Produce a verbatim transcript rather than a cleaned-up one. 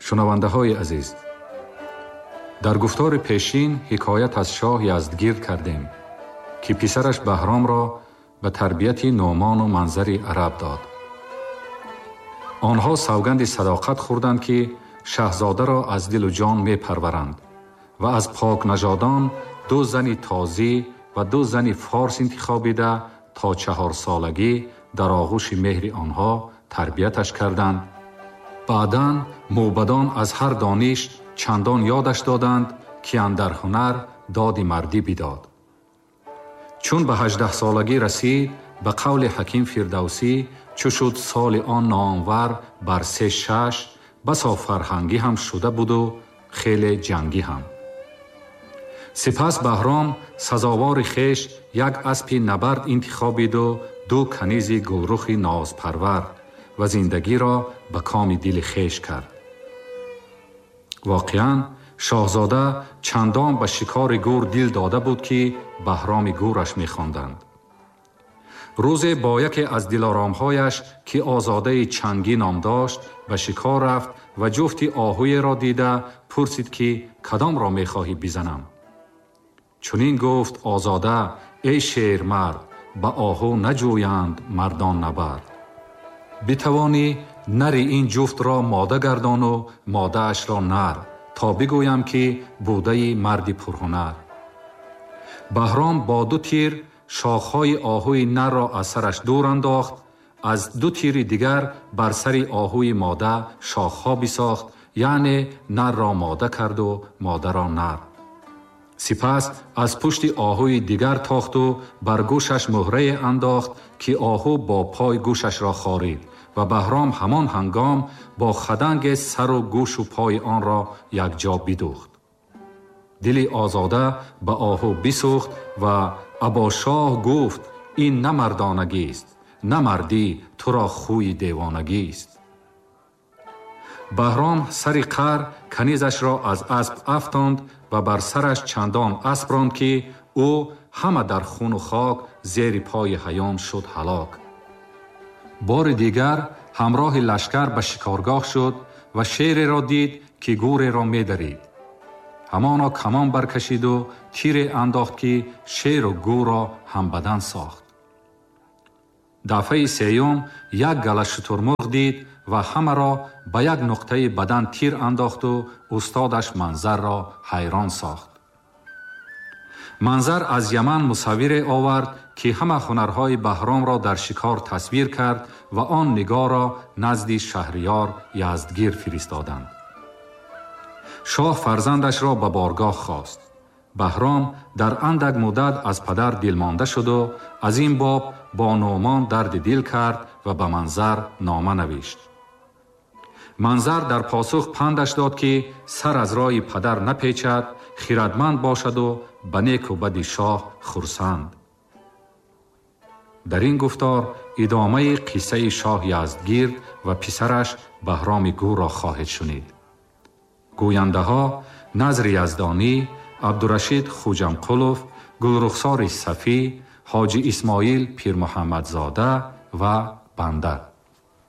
Шунавандаҳои азиз, дар гуфтори пешин ҳикоят аз шоҳ Яздгирд кардем, ки писараш Баҳромро ба тарбияти Нӯъмону Манзари араб дод. Онҳо савганди садоқат хӯрданд, ки шаҳзодаро аз дилу ҷон мепарваранд ва аз покнажодон ду зани тозӣ ва ду зани форс интихобида то чаҳорсолагӣ дар оғӯши меҳри онҳо тарбияташ карданд. Баъдан мӯбадон аз ҳар дониш чандон ёдаш доданд, ки андар ҳунар доди мардӣ бидод. Чун ба ҳаждаҳсолагӣ расид, ба қавли ҳаким Фирдавсӣ, чу шуд соли он номвар бар се шаш, басо фарҳангӣ ҳам шуда буду хеле ҷангӣ ҳам. Сипас Баҳром сазовори хеш як аспи набард интихобиду ду канизи гулрухи нозпарвар ва зиндагиро ба коми дили хеш кард. Воқеан, шоҳзода чандон ба шикори гур дил дода буд, ки Баҳроми гураш мехонданд. Рӯзе бо яке аз дилоромҳояш, ки Озодаи Чангӣ ном дошт, ба шикор рафт ва ҷуфти оҳуеро дида пурсид, ки кадомро мехоҳӣ бизанам? Чунин гуфт Озода: эй шермард, ба оҳу наҷӯянд мардон набард. Битавонӣ нари ин ҷуфтро мода гардону модаашро нар, то бигӯям, ки будаи марди пурҳунар. Баҳром бо ду тир шохҳои оҳуи нарро аз сараш дур андохт, аз ду тири дигар бар сари оҳуи мода шохҳо бисохт, яъне нарро мода карду модаро нар. Сипас аз пушти оҳуи дигар тохту бар гӯшаш муҳрае андохт, ки оҳу бо пой гӯшашро хорид ва Баҳром ҳамон ҳангом бо хаданге сару гӯшу пои онро якҷо бидӯхт. Дили Озода ба оҳу бисӯхт ва Абошоҳ гуфт: ин на мардонагист, на мардӣ, туро хӯи девонагист. Баҳром сари қар канизашро аз асп афтонд ва бар сараш чандон асп ронд, ки ӯ ҳама дар хуну хок зери пои ҳаён шуд ҳалок. Бори дигар ҳамроҳи лашкар ба шикоргоҳ шуд ва шереро дид, ки гӯреро медарид. Ҳамоно камон баркашиду тире андохт, ки шеру гӯрро ҳамбадан сохт. Дафъаи сеюм як гала шутурмурғ дид ва ҳамаро ба як нуқтаи бадан тир андохту устодаш Манзарро ҳайрон сохт. Манзар аз Яман мусаввире овард, ки ҳама ҳунарҳои Баҳромро дар шикор тасвир кард ва он нигоҳро назди шаҳриёр Яздгир фиристоданд. Шоҳ фарзандашро ба боргоҳ хост. Баҳром дар андак муддат аз падар дилмонда шуду аз ин боб бо Нӯъмон дарди дил кард ва ба Манзар нома навишт. Манзар дар посух пандаш дод, ки сар аз роҳи падар напечад, хирадманд бошаду ба неку бади шоҳ хурсанд. Дар ин гуфтор идомаи қиссаи шоҳ Яздгирд ва писараш Баҳроми гурро хоҳед шунид. Гӯяндаҳо Назри Яздонӣ, Абдурашид Хуҷамқулов, Гулрухсори Сафӣ, Ҳоҷи Исмоил Пирмуҳаммадзода ва банда.